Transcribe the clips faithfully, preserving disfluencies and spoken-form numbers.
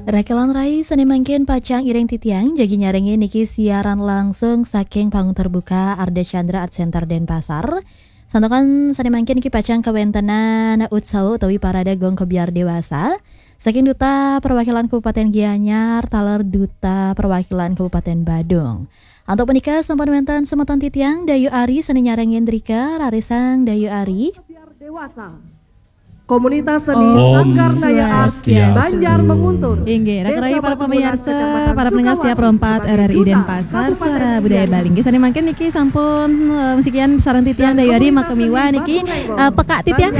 Rakelan rai sané mangkin pacang iring titiang jagi nyarengin niki siaran langsung saking Panggung Terbuka Ardha Candra Art Center Denpasar. Santukan sané mangkin niki pacang kawéntenan utsawa utawi parade Gong Kebyar Dewasa saking Duta Perwakilan Kabupaten Gianyar taler Duta Perwakilan Kabupaten Badung. Antuk punika sampun wénten semeton titiang Dayu Ari sané nyarengin drika, rarisang Dayu Ari. Dewasa. Komunitas Seni Om Sanggar Naya Art Swastiastu. Banjar Menguntur. Inggih, raka rai para pamirsa, para pendengar setia Pro empat R R I Denpasar, Suara Budaya Bali. Inggih, sané mangkin niki sampun, eh, sekian sareng titiang Dayu Ari, makamiwa niki, eh, peka titiang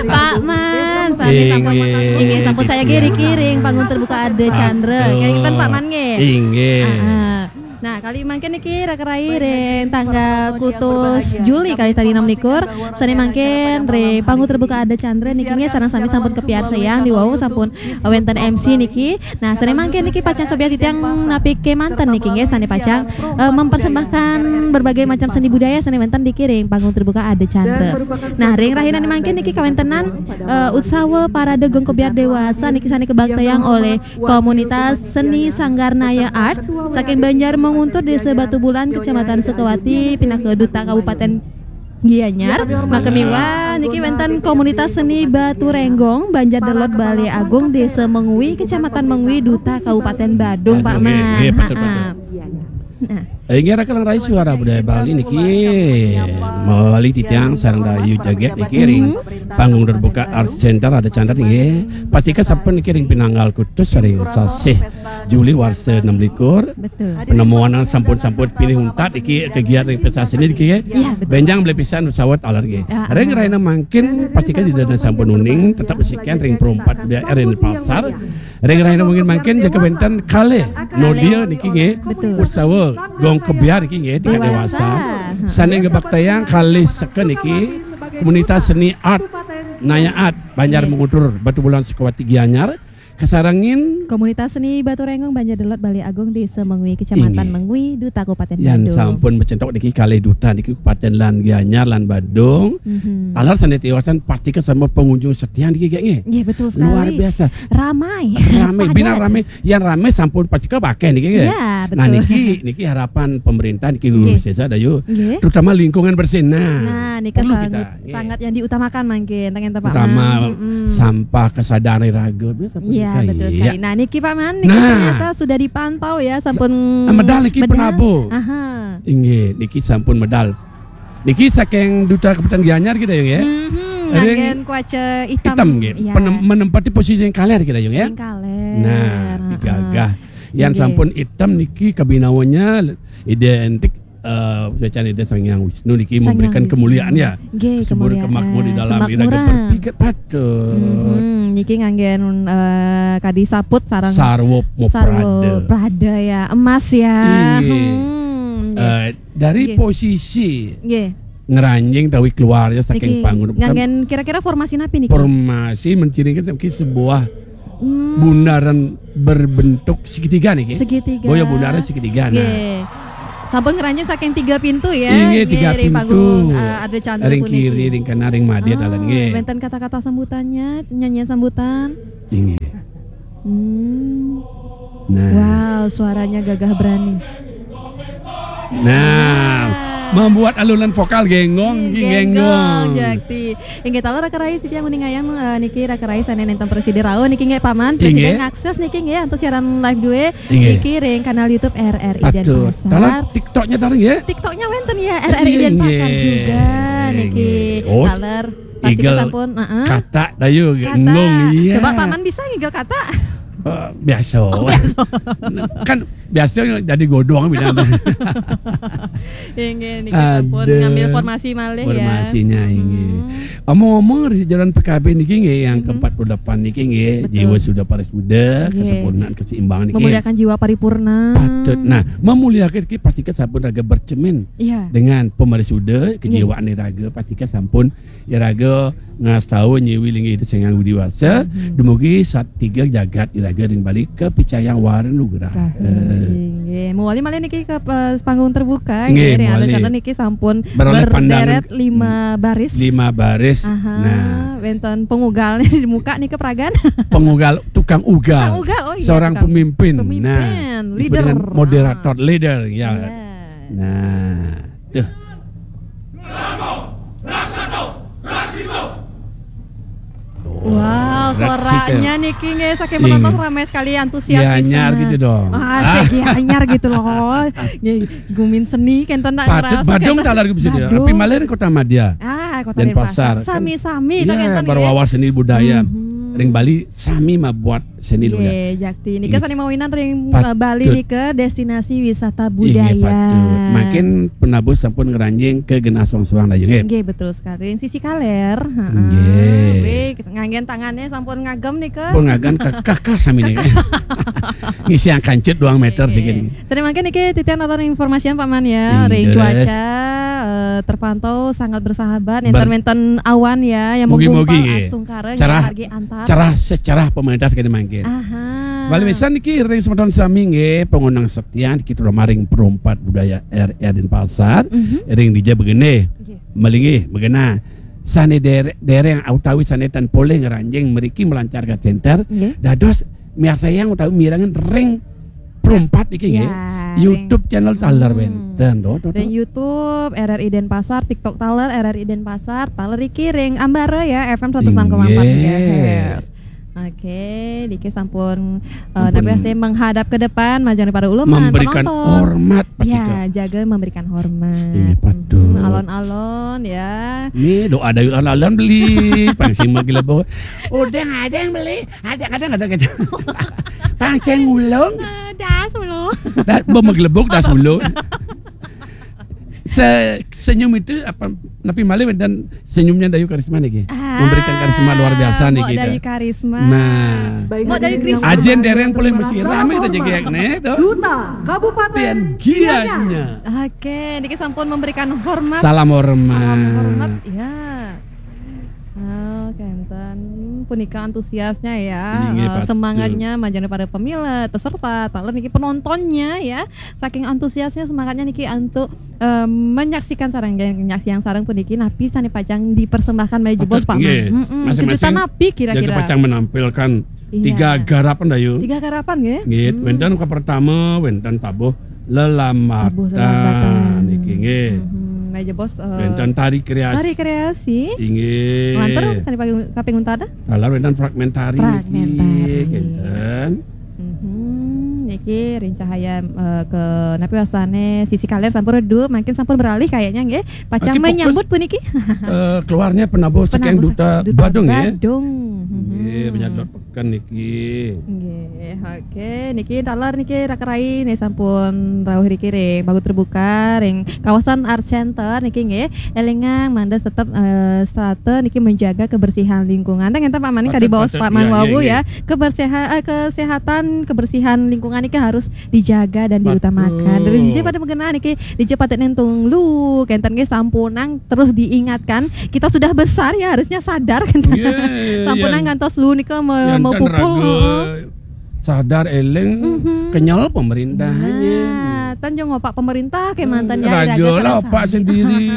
Pak Man, sané sampun, inggih, sampun saya nggih riki ring Panggung Terbuka Ardha Candra. Kalian Pak Man nggih. Inggih. Ah, ah. Nah, kali mangkin niki raka rai ring tanggal kutus Juli kali tadi enam likur, sané mangkin ring Panggung Terbuka Ardha Candra niki nggih sareng sami sampun kapiarsayang diwau sampun wénten M C niki. Nah, sané mangkin niki pacang cobian titiang napi kémanten niki nggih sané pacang, eh, mempersembahkan berbagai macam seni budaya sané wénten niki ring Panggung Terbuka Ardha Candra. Nah, ring rahina mangkin niki kawéntenan, eh, utsawa parade Gong Kebyar Dewasa niki sané kabaktayang olih Komunitas Seni Sanggar Naya Art saking Banjar Menguntur, Desa Batubulan, Kecamatan Sukawati, pinaka Duta Kabupaten Gianyar. Makamiwa niki wénten Komunitas Seni Batu Renggong, Banjar Delod, Balé Agung, Desa Mengwi, Kecamatan Mengwi, Duta Kabupaten Badung, Pak Man. Nggih, betul, betul. Nah. Inggih, rakan rai Suara Budaya Bali niki, mawali titiang sareng Dayu Jaget niki ring Panggung Terbuka Art Center Ardha Candra nggih. Pastika sampun niki ring pinanggal kutus ring sasih Juli warsa enam likur. Betul. Penemuan sampun-sampun pinih untat niki kegiatan ring pentas seni niki nggih. Iya, betul. Bénjang beli pisan sawat alar nggih. Ya, ring rahina mangkin pastika ida dané sampun uning tetep sekian ring Pro empat Budaya R R I Denpasar. Ring rahina mangkin-mangkin jaga wénten kalih nodia niki nggih. Betul. Utsawa Gong Kebyar niki nggih tingkat dewasa. Dewasa. Sané ngabaktayang kalih seka niki Komunitas Seni Art Naya Art Banjar Menguntur, Batubulan, Sukawati, Gianyar. Kasarengin Komunitas Seni Batu Renggong, Banjar Delod, Balé Agung, Desa Mengwi, Kecamatan Mengwi, Duta Kabupaten Badung. Yan sampun macentok niki kalih duta niki Kabupaten lan Gianyar lan Badung. Mhm. Taler sané tiosan pastika sampun pengunjung setia niki nggih. Nggih, betul sekali. Luar biasa. Ramai. Ramai, bina ramai. Yang ramai sampun pastika pakai niki nggih. Iya, betul. Nah, niki, niki harapan pemerintah niki, nggih, Sesa Dayu. Nggih. Terutama lingkungan bersih. Nah, nah, nika perlu sang-, kita, nggih, sangat yang diutamakan mangkin, tengen Pak Man. Utama sampah kesadaran raga. Iya, betul sekali. Nah, niki Pak Man, niki ternyata sudah dipantau ya, sampun medal niki medal. Penabuh. Aha. Inggih, niki sampun medal. Niki saking Duta Kabupaten Gianyar kita ya, nggih. Mhm, nganggen kuaca itam. Itam, nggih. Iya. Penem-, menempati posisi yang kaler kita ya, nggih. Yang kaler. Nah, heeh. Gagah. Yang sampun itam niki kabinawannya identik, eh, suécan Ida Sang Hyang Wisnu niki memberikan kemuliaan ya. Nggih, kemuliaan. Kemakmur di dalam iraga berpikat patut. Mhm, niki nganggen, eh, kadi saput sareng sarwa prada ya, emas ya. Iya. Hmm, nggih. Eh, dari posisi ngranjing tawi keluarnya saking panggung. Niki nganggen kira-kira formasi napi niki? Formasi menciringkan mungkin sebuah bundaran berbentuk segitiga niki. Segitiga. Boya bundaran segitiga, nah. Nggih. Sampun ngranjing saking tiga pintu ya. Inggih, tiga pintu. Ring panggung, eh, Ardha Candra puniki. Ring kiri, ring kanan, ring madya dalan nggih. Wénten kata-kata sambutannya, nyanyian sambutan. Inggih. Hmm. Nah. Wow, suaranya gagah berani. Nah, membuat alunan vokal genggong, genggong, genggong. Jakti. Inggih, taler raka rai titiang nguningayang, eh, niki raka rai sané nénten prasida rauh niki nggih Paman, prasida ngakses niki nggih antuk siaran live dué niki ring kanal YouTube R R I Denpasar. Taler TikToknya taler nggih? TikToknya wénten ya, R R I Denpasar juga niki. Oh, taler pasti sampun, heeh. Kata dayu nggung, iya. Coba Paman bisa ngigel kata? Eh, biasa. Oh, biasa. Kan biasa jadi godong bidang. Inggih, niki sampun ngambil formasi malih ya. Formasinya, inggih. Omong-omong, di jalan P K B niki nggih, yang keempat puluh delapan niki nggih, betul. Jiwa suda parisuda, kesempurnaan, keseimbangan niki. Memuliakan jiwa paripurna. Patut. Nah, memuliakan niki pasti kan sampun raga bercermin dengan pemarisuda, kejiwaan raga pasti kan sampun iraga ngastau nyiwi linggih Ida Sang Hyang Widhi Wasa, dumugi sat tiga jagat iraga ring Bali kapicayang wara nugraha. Inggih. Mawali malih niki ka, eh, panggung terbuka, nggih, ring Ardha Candra niki sampun berderet lima baris. Lima baris. Aha, nah. Wénten pangugal di muka nika peragan. Pangugal tu tukang ugal. Tukang ugal, oh iya, seorang tukang pemimpin. Pemimpin, nah, disebut leader. Dengan moderator, ah, leader, ya. Iya. Nah, tuh. Wow, suaranya niki nggih saking penonton ramai sekali, antusias pisan. Gianyar gitu dong. Ah, sik gianyar gitu loh. Nggih, gumin seni kenten tak ngerasa. Badung taler bisa dia. Tapi malih ring Kota Madya. Ah, Kota Denpasar. Sami-sami tak kenten nggih. Berwawasan seni budaya. Ring Bali sami mabuat seni lho ya. Nggih, jakti. Nika sane mawinan ring, eh, Bali nika destinasi wisata budaya. Inggih, patut. Mangkin penabuh sampun ngranjing ke genah suang-suang dayu nggih. Nggih, betul sekali. Ring sisi kaler, heeh. Nggih. Wih, nganggen tangane sampun ngagem nika. Pun ngagem kakah sami nika. Ngisi kancut dua meter. Nggih. Siki. Sane mangkin niki titiang atur informasian Pak Man ya. Ring cuaca, eh, terpantau sangat bersahabat. Enten-enten awan ya yang menggumpal astungkara nggih, margi antar. Cerah secerah pemerintah kene mangke. Aha. Wali wisan niki ring semeton sami nggih, pangondang setia kita maring Perumpat Budaya R R Denpasar, ring dija begene. Nggih. Melinggih begena sane dere-, dereng utawi sane tan polih ngranjing mriki melancarkan center. Nggih. Dados miarsayang utawi mirengang ring Perumpat iki nggih. Ya, YouTube channel taler wenten to, to, to. Dan YouTube R R I Denpasar, TikTok taler R R I Denpasar, taler iki ring Ambara ya, F M seratus enam koma empat megahertz. Inggih. Oke, niki sampun, eh, napi wastane menghadap ke depan, majeng para ulama, memberikan penonton. Hormat, ya, jaga memberikan hormat. Inggih, patut. Hmm, alon-alon ya. Ini doa dayu alon-alon beli, paling sing magelebok. Udah ada yang beli. Ada, kadang ada kecap. Pancen ulung. Eh, das ulung. Da-, bo magelebok das ulung. Se-, senyum itu apa, napi malih wenten senyumnya Dayu Karisma niki. Ah, memberikan karisma luar biasa niki. Mbok Dayu Karisma. Nah. Baik, Mbok Dayu Karisma. Ajen dereng polih mesti rame kita jegek nih, to. Duta Kabupaten Gianyar. Oke, niki sampun memberikan hormat. Salam hormat. Salam hormat, ya. Oh, kenten. Punika antusiasnya ya. Inggih, eh, patut. Semangatnya majeng para pemilet, peserta, taler niki penontonnya ya. Saking antusiasnya, semangatnya niki antuk, eh, menyaksikan sareng, nyaksiang sareng puniki napi sane pacang dipersembahkan malih jebos, Pak Man. Patut, nggih. Mm-mm. Masing-masing kejutan napi kira-kira? Jaga pacang menampilkan tiga garapan dayu. Tiga garapan nggih? Nggih, wenten ka pertama, wenten tabuh lelambatan. Tabuh lelambatan. Niki nggih. Mhm. Malih jebos, eh, wenten tari kreasi. Tari kreasi. Inggih. Lantur sane kaping, kaping untat? Taler wenten fragmentari niki. Fragmentari. Kenten. Mhm. Niki ring cahaya, eh, ke napi wastane sisi kaler sampun redup, mangkin sampun beralih kayaknya nggih. Pacang menyambut puniki. Eh, keluarnya penabuh saking Duta Badung nggih. Badung. Mhm. Nggih, menyambut Kan niki. Nggih, oke. Niki taler niki raka rai nih sampun rauh riki ring panggung terbuka ring kawasan Art Center niki nggih. Elingang mangda tetep, eh, setata niki menjaga kebersihan lingkungan. Teng enten Pak Maning kadi baos Pak Man wau ya. Kebersihan, eh, kesehatan, kebersihan lingkungan niki harus dijaga dan diutamakan. Dari dija pada mengenal niki, dija patut nentung lu, kenten nggih sampunang terus diingatkan. Kita sudah besar ya, harusnya sadar kenten. Sampunang ngantos lu nika mau pupul, heeh. Sadar eling kenyal pemerintahnya. Nah, tan jo ngopak pemerintah kemanten ya, raga lah opak sendiri.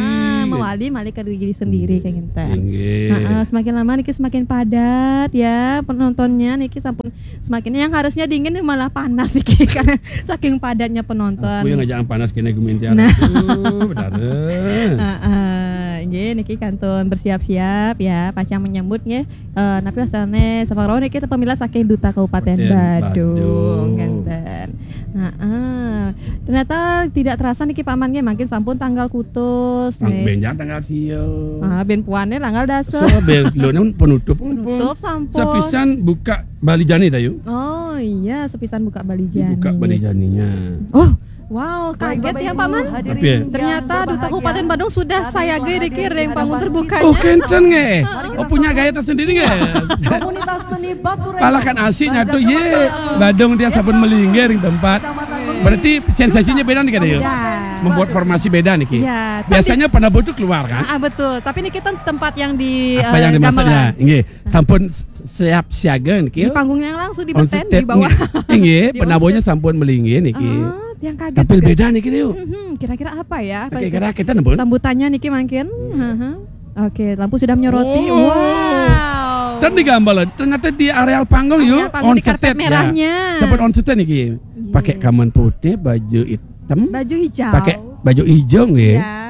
Mawali malih ke diri sendiri kenten. Heeh, semakin lama niki semakin padat ya penontonnya niki sampun Semakin yang harusnya dingin malah panas iki karena saking padatnya penonton. Aku yang ngajak panas kene gumintian. Nah. Aduh, betara. Heeh, nggih niki kantun bersiap-siap ya, pacang menyambut nggih. Eh, napi wastane sapa rawuh niki pemilet saking Duta Kabupaten Badung, Badung. Ngenten. Heeh. Ternyata tidak terasa niki Pak Man nggih, mangkin sampun tanggal kutus nggih. Benjang tanggal sia. Ah, ben puane tanggal dasa. So, ben lho penutup. Penutup sampun. Sepisan buka Bali Jani ta, Yu? Oh iya, sepisan buka Bali Jani. Buka Bali Janinya. Oh, wow, kaget ya Pak Man. Ternyata Duta Kabupaten Badung sudah sayaga dikirim panggung terbukanya. Oh, kenten nggih. Oh, punya gaya tersendiri nggih. Komunitas seni Batu Rema. Pala kan asik nyatu ye. Badung dia sampun melinggih ring tempat. Berarti sensasinya beda nih kan ya? Membuat formasi beda niki. Biasanya penabuh itu keluar kan? Ah, betul. Tapi niki kan tempat yang di, apa yang dimaksudnya? Nggih. Sampun siap siaga niki. Di panggung yang langsung di beten di bawah. Nggih, penabuhnya sampun melinggih niki. Yang kaget. Tapi beda niki, Yu. Kira-kira apa ya? Kira-kira kita nembus. Sambutannya niki mangkin. Oke, lampu sudah menyoroti. Wow. Dan digambar lah, ternyata di areal panggung, Areal yuk, panggung di karpet ya. Merahnya. Sempat on stage nih, Ki. Iya. Pakai kaman putih, baju hitam, Baju hijau. Pakai baju hijau, nggih. Ya.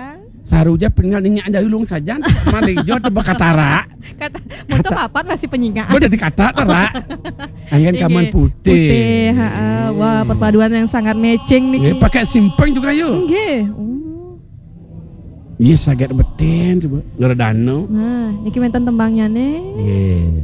Saruja peninggal ninyak jahulung sajan, mandi hijau atau berkatarak. Kata, untuk papat masih penyingak. Udah dikata terak. Angin kaman putih. Putih, heeh. Wah, perpaduan yang sangat matching nih. Nggih, pakai simpeng juga, yuk. Nggih. Oh. Iya, saget beten coba. Ngeredano. Nah, niki wenten tembangnya nih. Nggih.